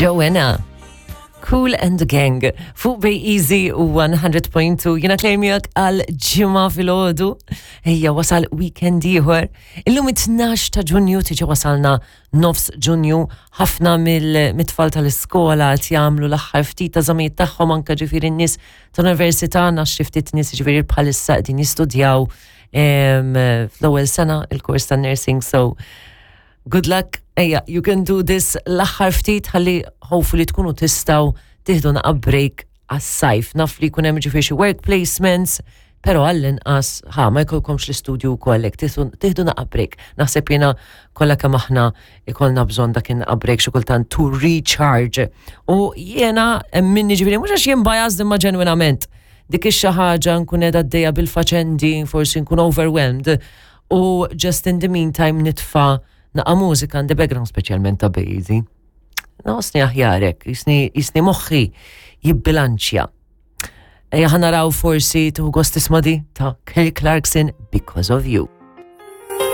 Joanna. Kool and the Gang fuq Bay Easy u 100.2 jiena klejmijak għal ġimgħa filgħodu. Ejja wasal weekend ieħor. Illum it-12 ta' Ġunju tiġi wasalna nofs Ġunju ħafna mill-tfal tal-iskola qed jagħmlu l-aħħar ftit ta' żamijiet tagħhom anke ġifieri n-nies tal-università għandna xi ftit nies ġifieri bħalissa qegħdin jistudjaw fl-ewwel sena il-kors tan-nursing so good luck, ejja, you can do this l-aħħar ftit ħalli hopefully tkunu tistgħu tieħdu naqa' break għas-sajf. Naf li jkun hemm ġifieri xi work placements, però għall-inqas ħa ma jkollkomx l-istudju wkoll hekk tieħdu naqa' break. Naħseb jiena kollha kemm aħna ikollna bżonn dak in-naqa' break xi kultant to recharge. U jiena minni ġifieri mhux għax jien biased imma ġenwinament dik ix-xi ħaġa nkun qiegħda għaddejja bil-faċendi, forsi nkun overwhelmed u just in the meantime nitfa' naqa' mużika in the background speċjalment ta' Bazy. Nħossni aħjarek, jisni moħħi jibbilanċja. Ejja ħa naraw forsi tieħu gost tisma' di ta' Kelly Clarkson Because of You.